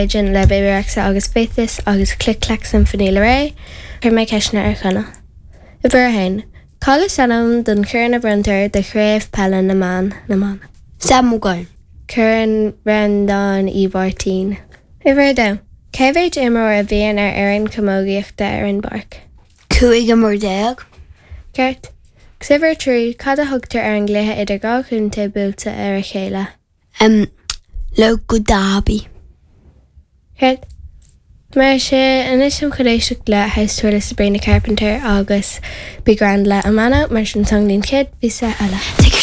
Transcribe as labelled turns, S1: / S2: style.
S1: Religion le Bebe Rexha agus Faithless agus Click Clack Symphony le Raye, chuir mé ceisteanna ar Chonall. Uimhir a haon. Cad is ainm don chorn a bronntar do chraobh peile na mban, na mban?
S2: Sam Maguire.
S1: Corn Bhreandáin Uí Mháirtín. Uimhir a dó. Cé mhéid imreoir a bhíonn ar fhoireann camógaíochta ar an bpáirc?
S2: 15 imreoir.
S1: Ceart. Agus uimhir a 3, cad a thugtar ar an gcluiche idir dhá chontae buailte ar a chéile?
S2: Um, Local derby.
S1: Ceart. Mar sin, anois táim chun éisteacht le House Tour le Sabrina Carpenter agus Be Grand le Amana, mar sin slán go dtí an chéad phíosa eile.
S2: Take